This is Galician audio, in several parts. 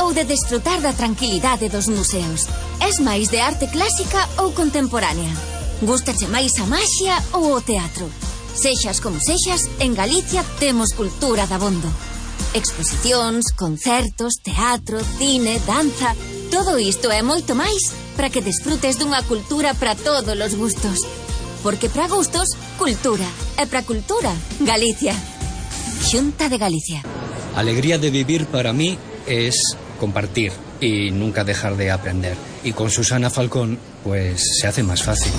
ou de desfrutar da tranquilidade dos museos? Es máis de arte clásica ou contemporánea? Gústache máis a maxia ou o teatro? Sexas como sexas, en Galicia temos cultura dabondo. Exposicións, concertos, teatro, cine, danza... Todo isto e moito máis para que desfrutes dunha cultura para todos os gustos. Porque para gustos, cultura. E para cultura, Galicia. Xunta de Galicia. Alegría de vivir para mí es compartir y nunca dejar de aprender. Y con Susana Falcón, pues se hace más fácil.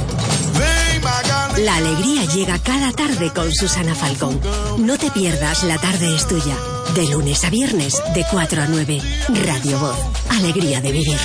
La alegría llega cada tarde con Susana Falcón. No te pierdas La tarde es tuya. De lunes a viernes, de 4 a 9. Radio Voz. Alegría de vivir.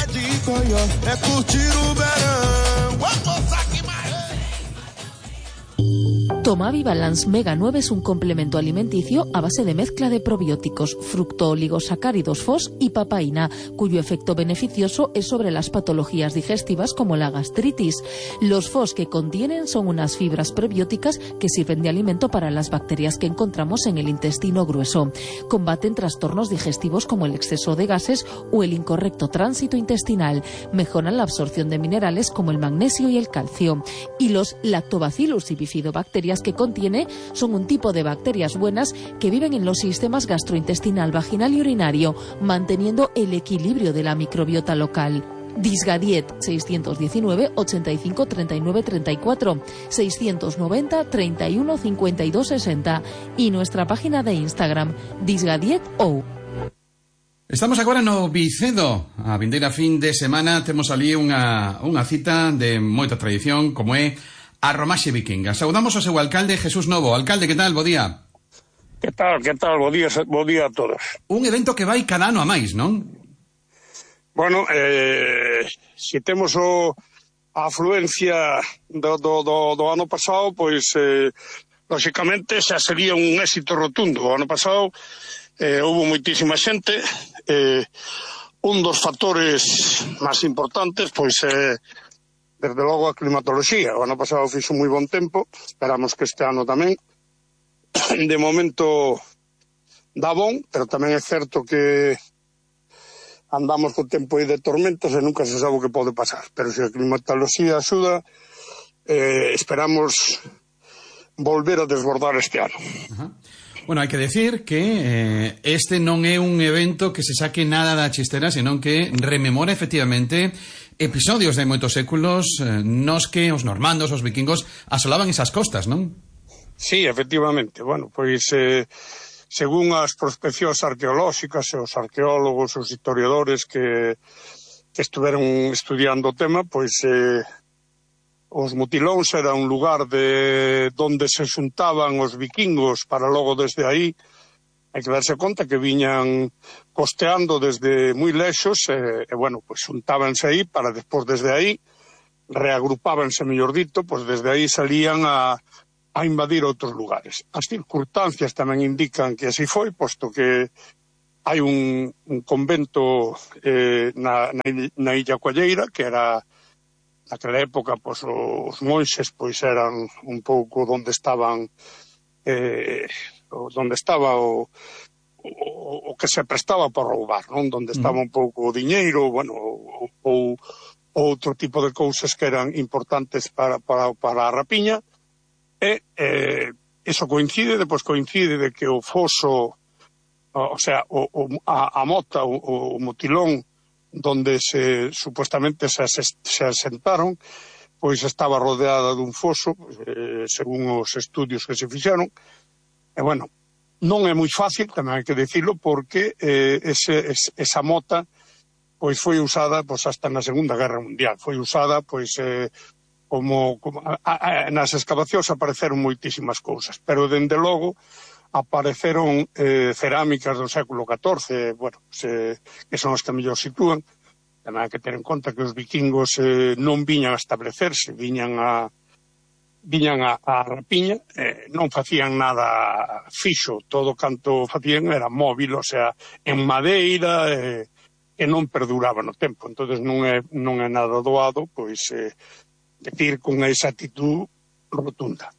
Tomavi Balance Mega 9 es un complemento alimenticio a base de mezcla de probióticos, fructooligosacáridos FOS y papaína, cuyo efecto beneficioso es sobre las patologías digestivas como la gastritis. Los FOS que contienen son unas fibras prebióticas que sirven de alimento para las bacterias que encontramos en el intestino grueso. Combaten trastornos digestivos como el exceso de gases o el incorrecto tránsito intestinal. Mejoran la absorción de minerales como el magnesio y el calcio. Y los Lactobacillus y bifidobacterias que contiene son un tipo de bacterias buenas que viven en los sistemas gastrointestinal, vaginal y urinario, manteniendo el equilibrio de la microbiota local. Disgadiet 619 85 39 34 690 31 52 60 y nuestra página de Instagram disgadiet.ou. Estamos agora no Vicedo. A vindeira fin de semana temos ali unha cita de moita tradición como é a Romaxe Vikinga. Saudamos ao seu alcalde, Jesús Novo. Alcalde, que tal? Bo día. Que tal? Bo día a todos. Un evento que vai cada ano a máis, non? Bueno, se temos a afluencia do ano pasado, pois, lóxicamente, xa sería un éxito rotundo. O ano pasado houve moitísima xente. Un dos factores máis importantes, pois, desde logo a climatoloxía. O ano pasado fixo moi bon tempo, esperamos que este ano tamén. De momento dá bon, pero tamén é certo que andamos co tempo aí de tormentas e nunca se sabe o que pode pasar. Pero se a climatoloxía axuda, esperamos volver a desbordar este ano. Bueno, hai que decir que este non é un evento que se saque nada da chistera, senón que rememora efectivamente episodios de moitos séculos nos que os normandos, os vikingos, asolaban esas costas, non? Sí, efectivamente. Bueno, pois, según as prospeccións arqueolóxicas e os arqueólogos, os historiadores que estuveron estudiando o tema, pois os mutilóns era un lugar de donde se xuntaban os vikingos para logo desde aí. Hai que darse conta que viñan costeando desde moi lexos e bueno, pois xuntábanse aí para despois desde aí reagrupábanse, mellor dito, pois desde aí salían a invadir outros lugares. As circunstancias tamén indican que así foi, posto que hai un convento na Illa Coalleira, que era naquela época, pois os monxes pois eran un pouco onde estaban onde estaba o que se prestaba para roubar, non? Onde estaba un pouco o diñeiro, bueno, ou outro tipo de cousas que eran importantes para a rapiña. E eso coincide de que o foso, o sea, a mota, o motilón, donde supuestamente se asentaron, pois estaba rodeada dun foso, según os estudios que se fixeron. E, bueno, non é moi fácil, tamén hai que dicilo, porque esa mota pois foi usada pois hasta na Segunda Guerra Mundial. Foi usada pois como nas excavacións apareceron moitísimas cousas, pero dende logo apareceron cerámicas do século XIV, bueno, que son as que mellor sitúan. Tamén hai que ter en conta que os vikingos non viñan a establecerse, viñan a rapiña, non facían nada fixo, todo canto facían era móvil, o sea, en madeira, que non perduraba no tempo. Entonces non é nada doado, pois, decir con esa actitud rotunda.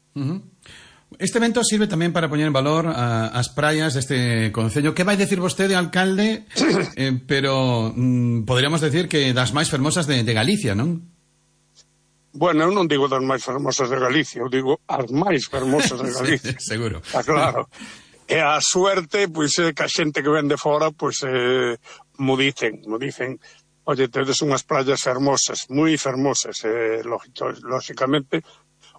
Este evento sirve tamén para poñer en valor as praias deste concello. Que vai decir vostede, alcalde? Pero poderíamos decir que das máis fermosas de Galicia, non? Bueno, eu non digo das máis fermosas de Galicia, eu digo as máis fermosas de Galicia. Sí, seguro. Está claro. E a suerte, pois, é que a xente que ven de fora, pois, mo dicen, oye, tedes unhas praias fermosas, moi fermosas, lógicamente.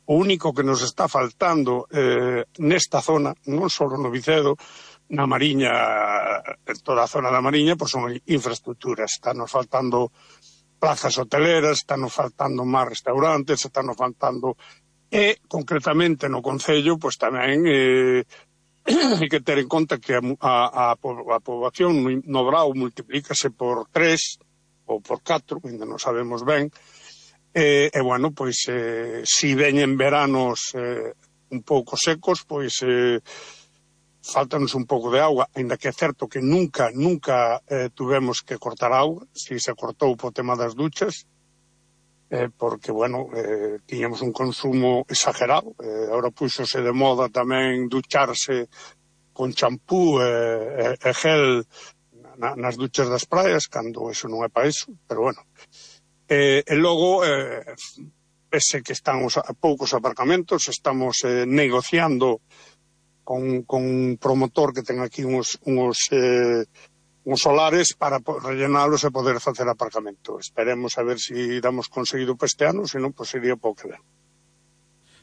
O único que nos está faltando nesta zona, non só no Vicedo, na Mariña, en toda a zona da Mariña, pois son infraestructuras. Están nos faltando plazas hoteleras, están nos faltando máis restaurantes, están nos faltando... E, concretamente, no Concello, pois tamén hai que ter en conta que a poboación no Brao multiplícase por 3 ou por 4, ainda non sabemos ben. E bueno, pois, si veñen veranos un pouco secos, pois faltanos un pouco de auga, ainda que é certo que nunca tuvemos que cortar auga, si se cortou po tema das duchas, porque, bueno, tiñamos un consumo exagerado, agora puxose de moda tamén ducharse con champú e gel nas duchas das praias, cando eso non é para eso, pero bueno... E logo, pese que estamos a poucos aparcamentos, estamos negociando con un promotor que ten aquí uns solares para rellenalos e poder facer aparcamento. Esperemos a ver se damos conseguido para este ano, senón, pois sería pouco que ven.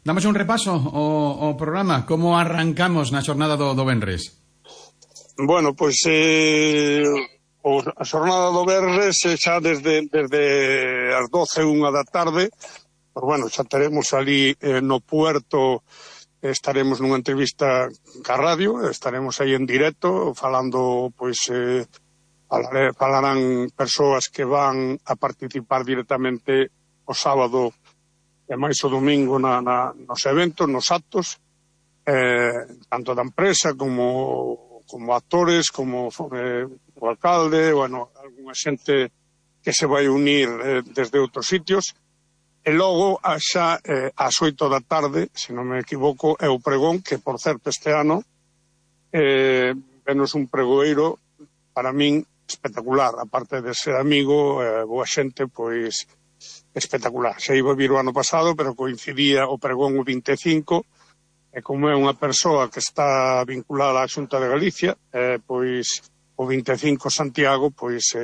Damos un repaso ao programa. Como arrancamos na xornada do Venres? Bueno, pois... a xornada do Venres xa desde as 12:01 da tarde, pues bueno, xa teremos ali no puerto, estaremos nunha entrevista ca radio, estaremos aí en directo falando, pois falarán persoas que van a participar directamente o sábado e máis o domingo nos eventos, nos actos, tanto da empresa como actores, como o alcalde, bueno, algunha xente que se vai unir desde outros sitios. E logo, xa ás 8 da tarde, se non me equivoco, é o pregón, que, por certo, este ano venos un pregoeiro, para min, espectacular. Aparte de ser amigo, boa xente, pois, espectacular. Xa iba a vir o ano pasado, pero coincidía o pregón o 25, e como é unha persoa que está vinculada á Xunta de Galicia, pois... o 25 Santiago, pois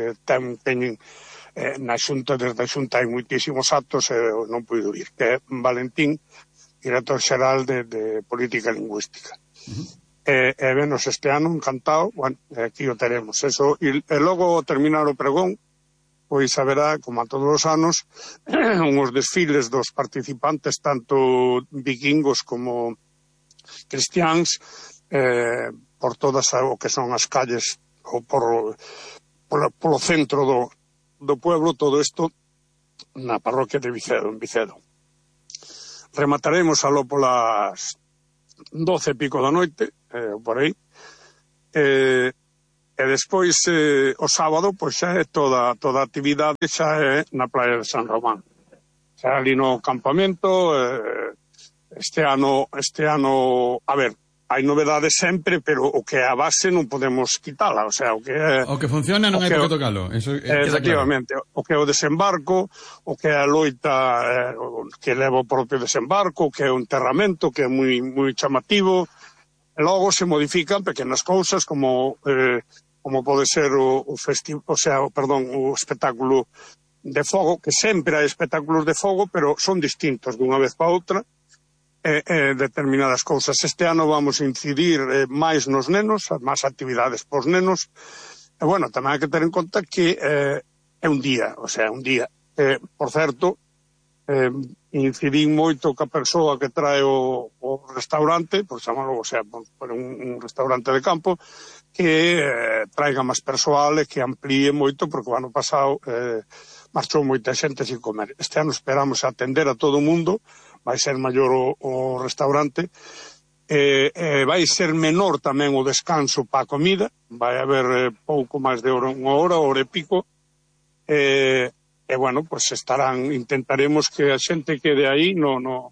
teñen na Xunta, desde a Xunta hai moitísimos actos e non puido ir, que é Valentín, director xeral de Política Lingüística. E venos este ano, encantado, bueno, aquí o teremos. Eso, e logo terminar o pregón, pois haberá, como a todos os anos, uns desfiles dos participantes, tanto vikingos como cristiáns, por todas o que son as calles ou polo centro do pueblo, todo isto na parroquia de Vicedo, en Vicedo. Remataremos aló polas 12 e pico da noite, por aí, e despois o sábado, pois xa é toda a actividade xa é na praia de San Román. Xa ali no campamento, este ano, a ver, hai novedades sempre, pero o que é a base non podemos quitala, o sea, o que funciona non hai por que tocalo, eso efectivamente, claro. O que é o desembarco, o que é a loita que leva o propio desembarco, o que é o enterramento, que é moi chamativo, e logo se modifican pequenas cousas como pode ser o espectáculo de fogo, que sempre hai espectáculos de fogo, pero son distintos dunha vez para outra, determinadas cousas. Este ano vamos a incidir máis nos nenos, máis actividades pos nenos, e bueno, tamén hai que ter en conta que é un día, o sea, un día. Por certo, incidín moito ca persoa que trae o restaurante, por chamarlo, o sea, por un restaurante de campo, que traiga máis persoal e que amplíe moito, porque o ano pasado marchou moita xente sin comer. Este ano esperamos atender a todo o mundo, vai ser maior o restaurante, vai ser menor tamén o descanso para a comida, vai haber pouco máis de unha hora e pico, e bueno, pues intentaremos que a xente quede aí no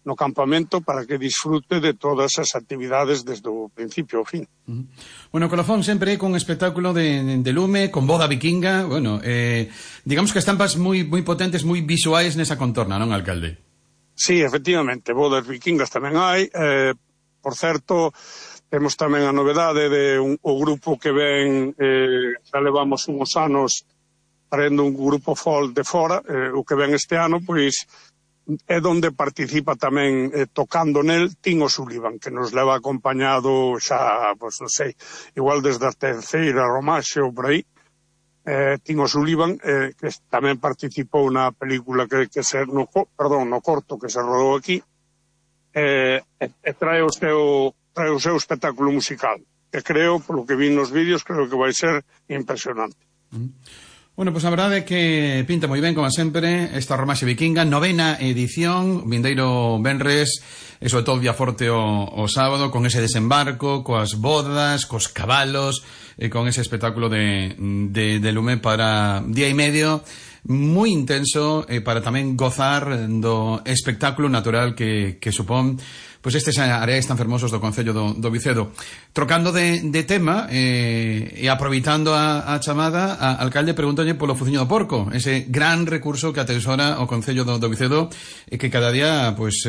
no campamento para que disfrute de todas as actividades desde o principio ao fin. Bueno, Colofón sempre con espectáculo de lume, con boda vikinga, bueno, digamos que estampas moi potentes, moi visuais nesa contorna, non, alcalde? Sí, efectivamente, bodas vikingas tamén hai, por certo, temos tamén a novedade de o grupo que ven, xa levamos uns anos traendo un grupo folk de fora, o que ven este ano, pois, é donde participa tamén tocando nel Tino Sullivan, que nos leva acompañado xa, pois non sei, igual desde a terceira Romaxe ou por aí. Tino Sullivan, que tamén participou na película no corto que se rodou aquí, e trae o seu espectáculo musical, que creo, polo que vi nos vídeos, creo que vai ser impresionante. Bueno, pois a verdade é que pinta moi ben, como sempre, esta Romaxe Vikinga, 9ª edición, vindeiro venres, e sobre todo día forte o sábado, con ese desembarco, coas bodas, cos cabalos, e con ese espectáculo de lume para día e medio, moi intenso, para tamén gozar do espectáculo natural que supón pois estes areais tan fermosos do Concello do Vicedo. Trocando de tema e aproveitando a chamada, a alcalde, pregúntalle polo Fuciño do Porco, ese gran recurso que atesora o Concello do Vicedo e que cada día pois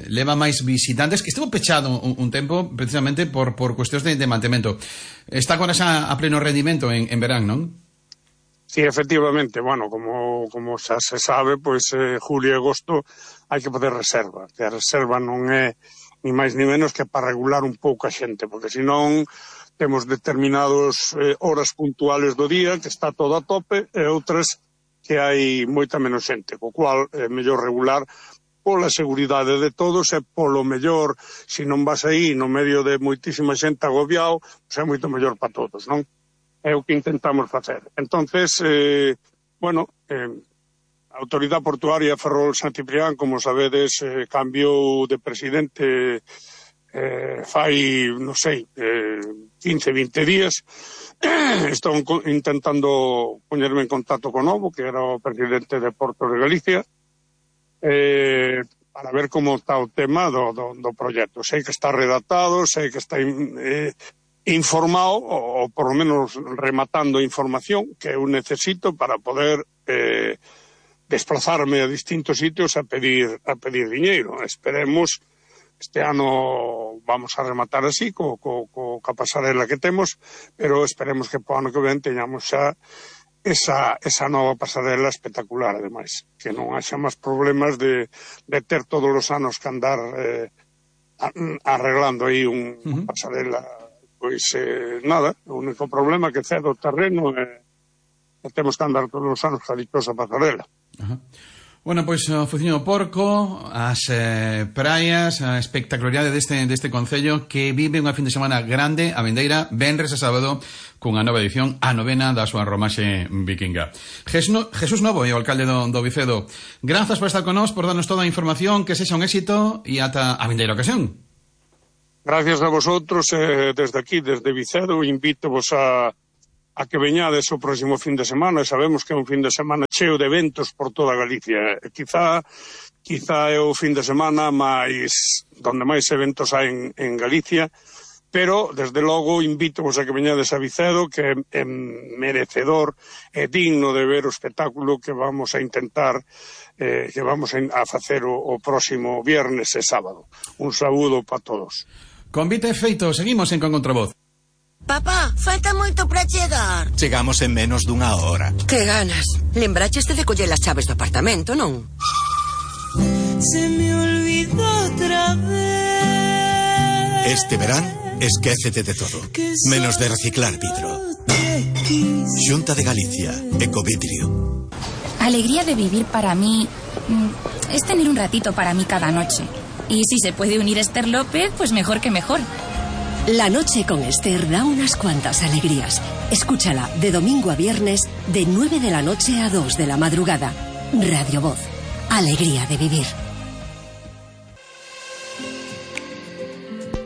leva máis visitantes, que estivo pechado un tempo precisamente por cuestións de mantemento. Está agora xa a pleno rendimento en verán, non? Sí, efectivamente, bueno, como xa se sabe, pois julio e agosto hai que fazer reserva, que a reserva non é ni máis ni menos que para regular un pouco a xente, porque senón temos determinadas horas puntuales do día que está todo a tope e outras que hai moita menos xente, co cual é mellor regular pola seguridade de todos e polo mellor, se non vas aí no medio de moitísima xente agobiado, pois é moito mellor para todos, non? É o que intentamos facer. Entonces, bueno, a Autoridade Portuaria Ferrol San Ciprián, como sabedes, cambiou de presidente fai, non sei, 15-20 días. Estou intentando poñerme en contacto con novo, que era o presidente de Portos de Galicia, para ver como está o tema do proxecto. Sei que está redactado, sei que está informado, ou por lo menos rematando información que eu necesito para poder desplazarme a distintos sitios a pedir diñeiro. Esperemos, este ano vamos a rematar así, co pasarela que temos, pero esperemos que po ano que ven teñamos xa esa nova pasarela espectacular, ademais, que non haxa máis problemas de ter todos os anos que andar arreglando aí unha pasarela. Pois nada, o único problema que cede o terreno é que temos que andar todos os anos a dichosa pasarela. Bueno, pois o Fuciño do Porco, as praias, a espectacularidade deste concello que vive unha fin de semana grande, a vindeira, venres e sábado, cunha nova edición, a 9ª da súa Romaxe Vikinga. Jesús Novo é o alcalde do Vicedo. Grazas por estar con nós, por darnos toda a información, que sexa un éxito e ata a vindeira ocasión. Gracias a vosotros, desde aquí, desde Vicedo, invito-vos a que veñades o próximo fin de semana. Sabemos que é un fin de semana cheo de eventos por toda Galicia. Quizá é o fin de semana donde máis eventos hai en Galicia, pero, desde logo, invito-vos a que veñades a Vicedo, que é merecedor e digno de ver o espectáculo que vamos a intentar, que vamos a facer o próximo viernes e sábado. Un saúdo para todos. Convite feito, seguimos en Con Contravoz. Papá, falta moito para chegar. Chegamos en menos dunha hora. Que ganas. Lembraches de coller as chaves do apartamento, non? Se me olvidó otra vez. Este verán, esquécete de todo, menos de reciclar vidro. Xunta de Galicia, Ecovidrio. Alegría de vivir para mí es tener un ratito para mí cada noche. Y si se puede unir Esther López, pues mejor que mejor. La noche con Esther da unas cuantas alegrías. Escúchala de domingo a viernes de 9 de la noche a 2 de la madrugada. Radio Voz. Alegría de vivir.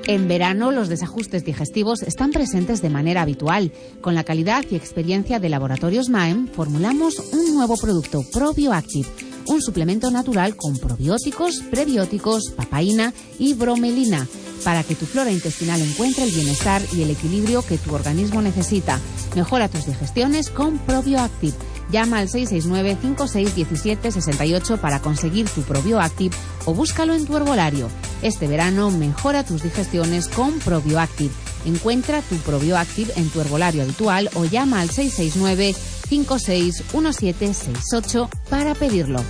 En verano, los desajustes digestivos están presentes de manera habitual. Con la calidad y experiencia de Laboratorios Maem, formulamos un nuevo producto, ProbioActive, un suplemento natural con probióticos, prebióticos, papaína y bromelina, para que tu flora intestinal encuentre el bienestar y el equilibrio que tu organismo necesita. Mejora tus digestiones con ProbioActive. Llama al 669-5617-68 para conseguir tu ProbioActive o búscalo en tu herbolario. Este verano mejora tus digestiones con ProbioActive. Encuentra tu ProbioActive en tu herbolario habitual o llama al 669-561768 para pedirlo.